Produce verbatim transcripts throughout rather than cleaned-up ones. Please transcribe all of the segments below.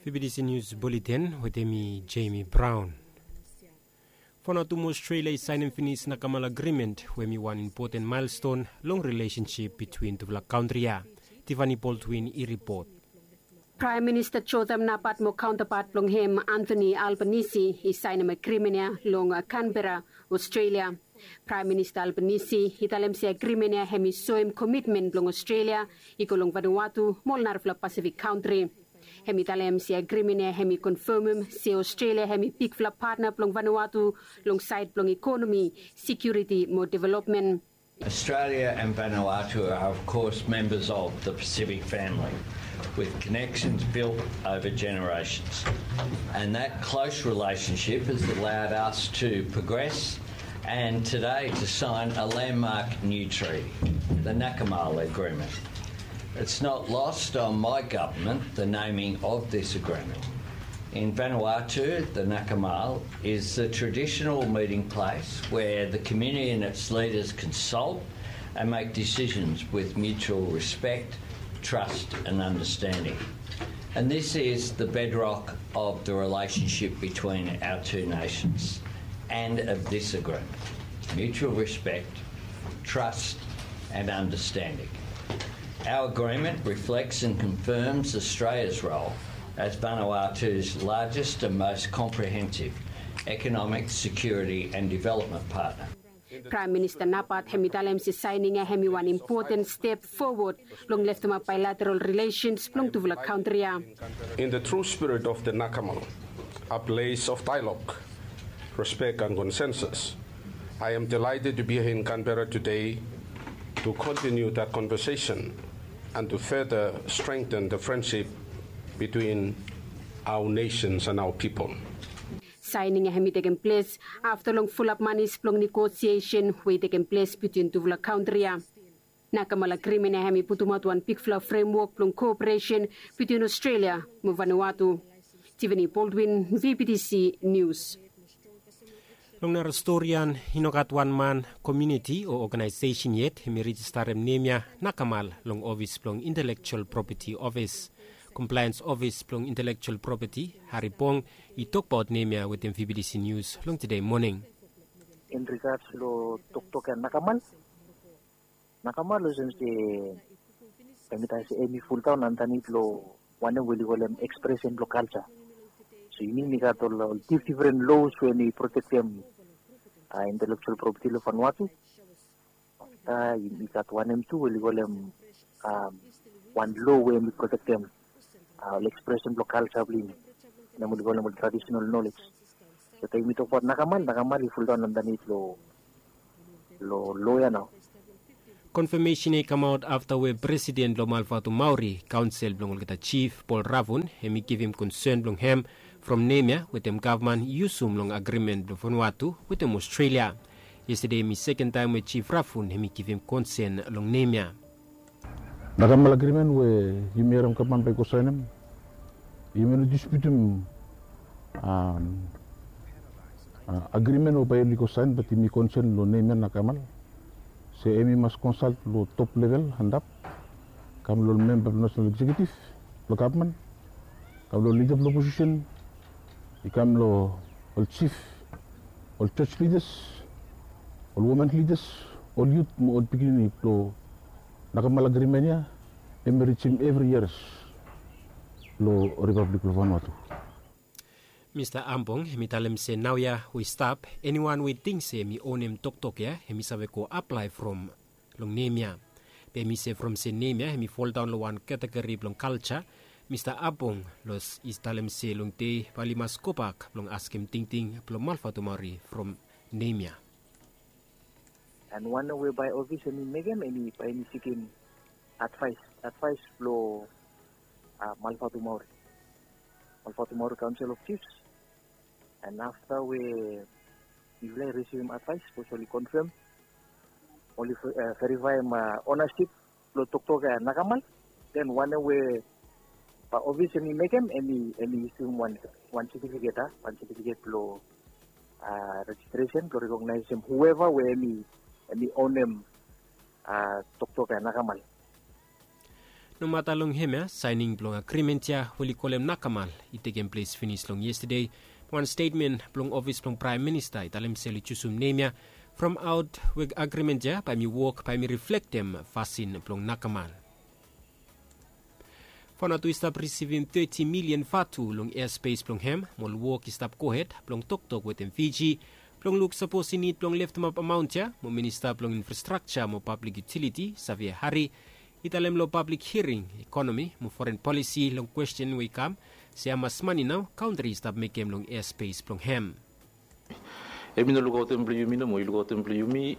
B B C News Bulletin wetem mi Jamie Brown. Vanuatu mo Australia i saenem finis Nakamal Agreement we hem i wan impoten maelston long rilesensip bitwin tufala kantri ya. Tiffany Baldwin i ripot. Praem Minista Jotham Napat mo kaontapat blong hem Anthony Albanese i saenem agrimen ya long Canberra, Australia. Praem Minista Albanese i talem se agrimen ya hem i soem komitmen blong Australia i go long Vanuatu mo ol narafala Pasifik kantri. Hem i talem se agrimen ya hem i konfamem se Australia hem i bigfala patna blong Vanuatu long saed blong ekonomi, sekiuriti mo developmen. Australia and Vanuatu are, of course, members of the Pacific family, with connections built over generations. And that close relationship has allowed us to progress and today to sign a landmark new treaty, the Nakamal Agreement. It's not lost on my government the naming of this agreement. In Vanuatu, the Nakamal is the traditional meeting place where the community and its leaders consult and make decisions with mutual respect, trust and understanding. And this is the bedrock of the relationship between our two nations and of this agreement. Mutual respect, trust and understanding. Our agreement reflects and confirms Australia's role as Vanuatu's largest and most comprehensive economic, security and development partner. Praem Minista Napat hem i talem se saening ya hem i wan impoten step fowod long leftemap baelateral rilesens blong tufala kantri ya. In the true spirit of the Nakamal, a place of dialogue, respect and consensus, I am delighted to be here in Canberra today to continue that conversation and to further strengthen the friendship between our nations and our people. Saening ya hem i tekem ples afta long fulap manis blong negosiesen we i tekem ples bitwin tufala kantri ya. Nakamal agrimen ya hem i putumaot wan bigfala fremwok blong koperesen bitwin Australia mo Vanuatu. Tiffany Baldwin, V B T C News. Long nara storian, i no gat wan man, komuniti o oganaesesen yet hem i rejistarem nem ya Nakamal long ofis blong Intelektual Propeti Ofis. Komplaens Ofis blong Intelektual Propeti, Harry Bong, i tokbaot nem ya wetem V B T C News long tede moning. In regards lo toktok ya Nakamal, Nakamal olsem se, taem mi talem se hem i fuldaon andanit lo wanem we oli kolem ekspresen blo kalja. So yumi yumi gat ol difdifren los we hem i protektem intelektual propeti lo Vanuatu. Afta yumi gat wanem tu we oli kolem wan lo we hem i protektem ol ekspresen blo kalja blo yumi, wanem oli kolem ol tradisonal nolej. So taem yumi tokbaot Nakamal, Nakamal i fuldaon andanit lo lo lo ya nao. Konfamesen ya i kamaot afta we presiden blong Malvatumauri kaonsel blong olgeta jif, Paul Ravun, hem i givim konsen blong hem from nem ya wetem gavman i yusum long agrimen blong Vanuatu wetem Australia. Yestade hem i seken taem we jif Ravun hem i givim konsen long nem ya. Nakamal agrimen we yumi harem gavman bae i go saenem, yumi no disputim agrimen we bae oli go saen, bat yumi konsen long nem ya Nakamal se hem i mas konsalt long top level antap, kam long memba blong nasenal eksekiutiv blong gavman, kam long lida blong oposisen, i kam long ol jif, ol jos lidas, ol women lidas, ol yut mo ol pikinini blong Nakamal agrimen ya hem i rijim evri yias long Ripablik blong Vanuatu. Mista Ambong hem i talem se naoia we i stap, eniwan we i ting se hem i onem toktok ya hem i save go aplae from long nem ya. Be hem i se from se nem ya hem i foldaon long wan kategori blong kalja, Mista Ambong los i talem se long dei bae oli mas gobak blong askem tingting blong Malvatumauri from nem ya. An wanem we bae ofis hem i mekem, hem i bae hem i sikim advaes, advaes blong Malvatumauri, Malvatumauri Kaonsel of Jifs. An afta we mifala i risivim advaes, sapos oli konfam, oli verifaem onasip blong toktok ya Nakamal, den wanem we bae ofis hem i mekem, hem i isum wan setifiket, a, wan setifiket blong rejistresen blong rekognaesem hueva we hem i onem toktok ya Nakamal. Nomata long hemia, saening blong agrimen ya we oli kolem nakamal i tekem ples finis long yestade. Wan stetmen blong ofis blong praem minista i talem se oli jusum nem ya from aot we agrimen ya bae hem i wok bae hem i riflektem fasin blong nakamal. Vanuatu i stap risivim teti milian vatu long easpes blong hem mo ol wok i stap gohed blong toktok wetem Fiji blong luk sapos i nid blong leftemap amaon ya mo minista blong infrastrakja mo pablik yutiliti Savea Hari i talem long pablik hiring ekonomi mo foren polisi long kwesten we i kam se hamas mane nao kantri i stap mekem long easpes blong hem. Hem i no lukaotem blong yumi nomo, i lukaotem blong yumi.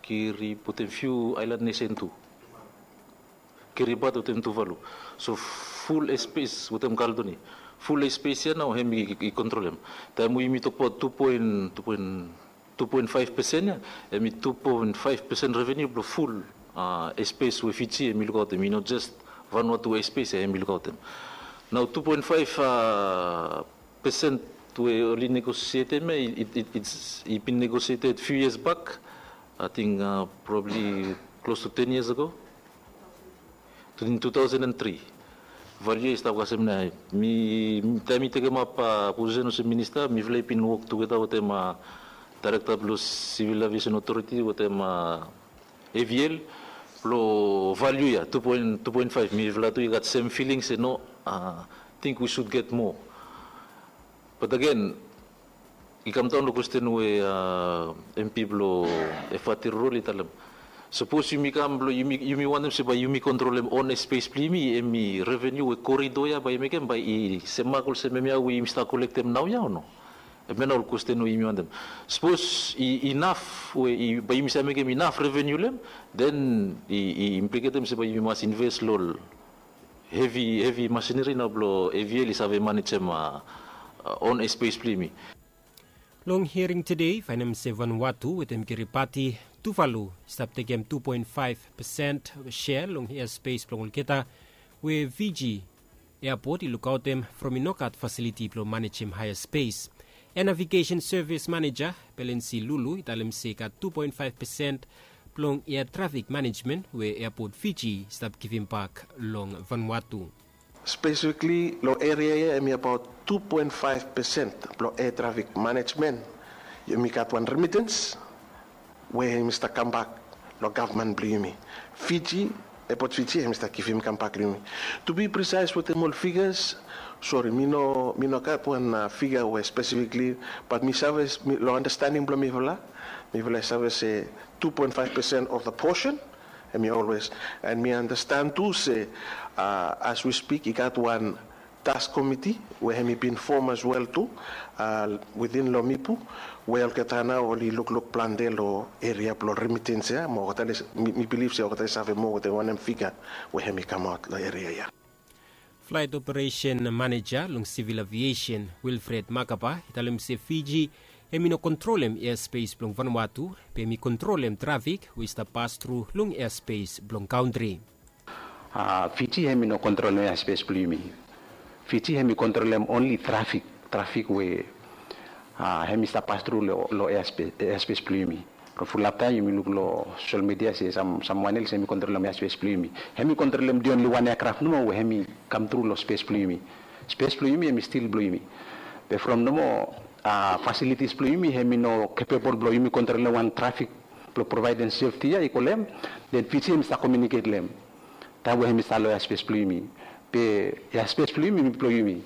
Kiri putem fiu aelan nesen tu, Kiribati wetem Tuvalu. So ful espes wetem Kaldoni, ful espes ya nao hem i kontrolem. Taem we yumi tokbaot tu poen tu poen faef pesen ya, hem i tu poen faef pesen reveniu blong ful espes we Fiji hem i lukaotem, i no jes Vanuatu espes ya hem i lukaotem. Nao tu poen faef pesen we oli negosietem ya, i bin negosieted fiu yias bak, ating probabli klos tu ten yias ago, tu taosen tri. Valiu ya i stap kasem nao. Mi taem mi tekemap posisen olsem minista, mifala i bin wok tugeta wetem daerekta blong Sivil Aviesen Otoriti wetem AVL blong valiu ya tu poen faef. Mifala tu i gat sem filing se no, ating wi sud get moa. Bat agen, i kamdaon long kwesten we MP blong Efate Rurol i talem, sapos yumi kam blong yumi wantem se bae yumi kontrolem on espes blong yumi, hem i reveniu we korido ya bae i mekem bae i semak olsem hemia we yumi stap kolektem naoia o no? Hemia nao ol kwesten we yumi wantem. Sapos i inaf we bae yumi save mekem inaf reveniu long hem, den i impliketem se bae yumi mas inves long ol hevi hevi masineri nao blong AVL i save manejem on espes blong yumi. Long hiring tede i faenem se Vanuatu wetem Kiribati, Tuvalu i stap tekem tu poen faef pesen sea long easpes blong olgeta, we Fiji eapot i lukaotem from i no gat fasiliti blong manejem haea spes. Air Navigation Service Manager Belensi Lulu i talem se i gat tu poen faef pesen blong ea trafik manejmen we eapot Fiji i stap givimbak long Vanuatu. Spesifikli long eria ya hem i abaot tu poen faef pesen blong ea trafik manejmen. Yumi gat wan remitens we hem i stap kambak long gavman blong yumi. Fiji, eapot Fiji hem i stap givim kambak long yumi. Tu bi prisaes wetem ol figas, sori, mi no mi no gat wan figa we spesifikli, bat mi save long andastaning blong mifala, mifala i save se tu poen faef pesen of the posen. Hem i olwes, and mi andastan tu se as wi spik i gat wan task komiti we hem i bin fom as wel tu within long Mipu, we olgeta nao oli lukluk plante long eria blong remitens ya mo olgeta mi bilif se olgeta i save moa wetem wanem figa we hem i kamaot long eria ya. Flaet operesen maneja long Sivil Aviesen Wilfred Makaba i talem se Fiji hem i no kontrolem easpes blong Vanuatu, be hem i kontrolem trafik we i stap pastru long easpes blong kantri. Fiji hem i no kontrolem easpes blong yumi. Fiji hem i kontrolem onli trafik, trafik we hem i stap pastru long easpes blong yumi. From fulap taem yumi luk long sosel midia se samwan els hem i kontrolem easpes blong yumi. Hem i kontrolem the only wan eakraf nomo we hem i kamtru long spes blong yumi. Spes blong yumi hem i stil blong yumi. Be from nomo fasilitis blong yumi hem i no kepebol blong yumi kontrolem wan trafik blong provaedem sefti ya i go long hem, den Fiji hem i stap komiuniket long hem taem we hem i stap long easpes blong yumi. Be easpes blong yumi hem i blong yumi.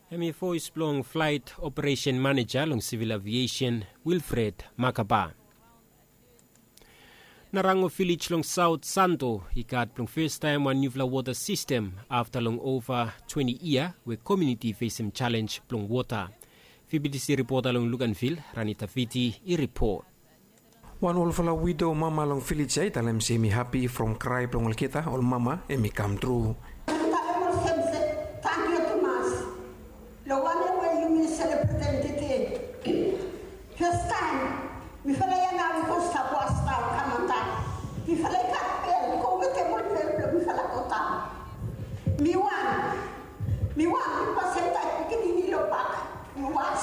Hem i voes blong flaet operesen maneja long Sivil Aviesen Wilfred Makaba. Narango vilej long Saot Santo i gat blong festaem wan niufala wota sistem afta long ova twenti yia we komuniti i fesem jalenj blong wota. VBTC ripota long Luganvil, Rani Taviti, i ripot. Wan olfala wido mama long vilej ya i talem se hem i hapi from krae blong olgeta ol mama hem i kamtru. Talem olsem se, tangkiu tumas long wanem we yumi selebretem tede. Fastaem mifala ya nao i go stap was nao kam antap. Mifala i gat bel, go wetem ol bel blong mifala go daon. Mi wan, mi wan mi pasem taem pikinini long bak, mi was.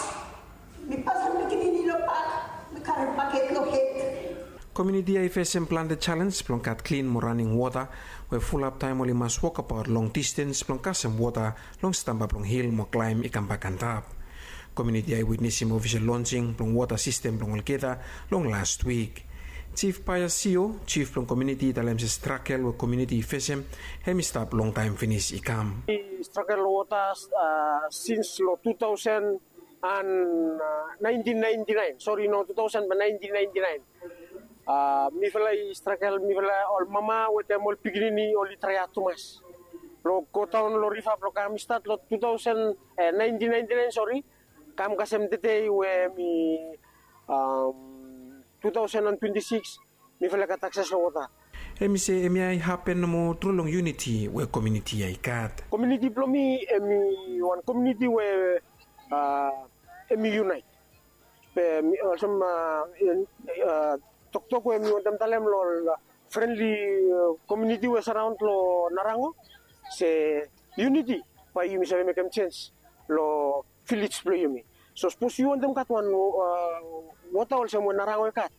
Mi pasem pikinini long bak, mi karem baket long hed. Komuniti ya i fesem plante jalens blong gat klin mo raning wota we fulap taem oli mas wokabaot long distens blong kasem wota long stamba blong hil mo klaem i kambak antap. Komuniti ya i witnesim ofisel lonsing blong wota sistem blong olgeta long las wik. Jif Paia Sio, jif blong komuniti, i talem se stragel we komuniti i fesem hem i stap longtaem finis i kam. Stragel long wota sins long tu taosen and naentin naenti naen, sori, no, tu taosen naentin naenti naen. Mifala i stragel, mifala ol mama wetem ol pikinini oli traeaot tumas blong godaon long riva blong kam. I stat long tu taosen naentin naenti naen, sori, kam kasem tede we mi tu taosen and twenti sikis, mifala i gat akses long wota. Hem i se hemia i hapen nomo tru long yuniti we komuniti ya i gat. Komuniti blong mi hem i wan komuniti we hem i yunaet. Be mi olsem toktok we mi wantem talem long ol frenli komuniti we saraon long Narango se yuniti bae yumi save mekem jens long vilej blong yumi. So sapos yu wantem gat wan wota olsem we Narango i gat,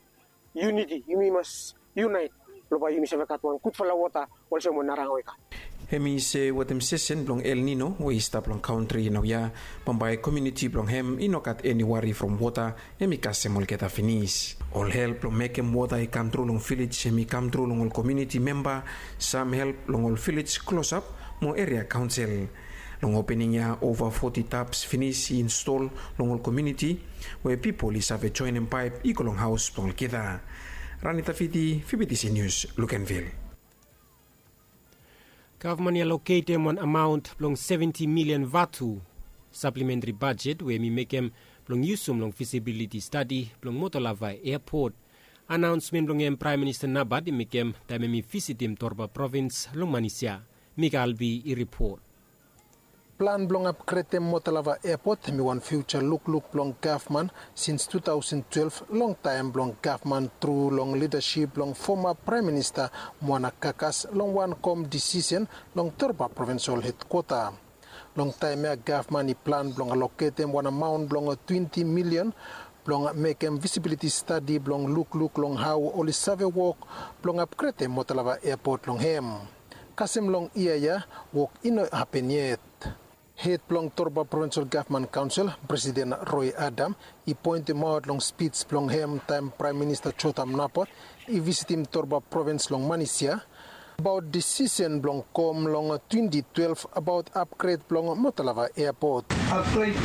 yuniti, yumi mas yunaet blong bae yumi save gat wan gudfala wota olsem we Narango i gat. Hem i se wetem sesen blong El Nino we i stap long kantri naoia, bambae komuniti blong hem i no gat eni wari from wota, hem i kasem olgeta finis. Ol help blong mekem wota i kam tru long vilej hem i kam tru long ol komuniti memba, sam help long ol vilej klosap mo eria kaonsel. Long opening ya ova foti taps finis i install long ol komuniti we pipol i save joenem paep i go long haos blong olgeta. Rani Tafiti, Fibitisi Nius, Lukenvil. Gavman i aloketem wan amaon blong seventi milian vatu saplementri bajet we hem i mekem blong yusum long fisibiliti stadi blong Motolava Eapot. Anaonsmen blong hem Praem Minista Nabat i mekem taem hem i visitim Torba provins long Manisia. Mika Albi i ripot. Plan blong apgredem Motolava Eapot hem i wan fiuja lukluk blong gavman sins tu taosen twelef, long taem blong gavman tru long lidasip blong foma Praem Minista Muana Kakas long wan kom disisen long Torba Provinsol Hedkwota. Long taem ya gavman i plan blong aloketem wan amaon blong twenti milian blong mekem visibiliti stadi blong lukluk long hao oli save wok blong apgredem Motolava Eapot long hem. Kasem long yia ya, wok i no hapen yet. Hed blong Torba Provinsol Gavman Kaonsel, Presiden Roy Adam, i poentemaot long spij blong hem taem Praem Minista Jotham Napat i visitim Torba Provins long Manisia abaot disisen blong kom long twenti twelef abaot apgred blong Motolava Eapot. Apgred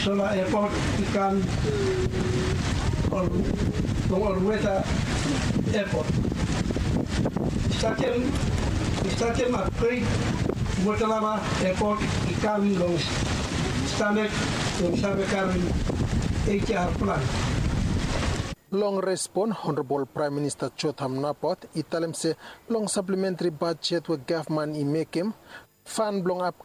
sola eapot i kam long ol weta eapot. Statem, statem apgred Motolava Eapot i kam long stanek blong save karem H R plan. Long respon, Honorabol Praem Minista Jotham Napat i talem se long saplementri bajet we gavman i mekem, fan blong ap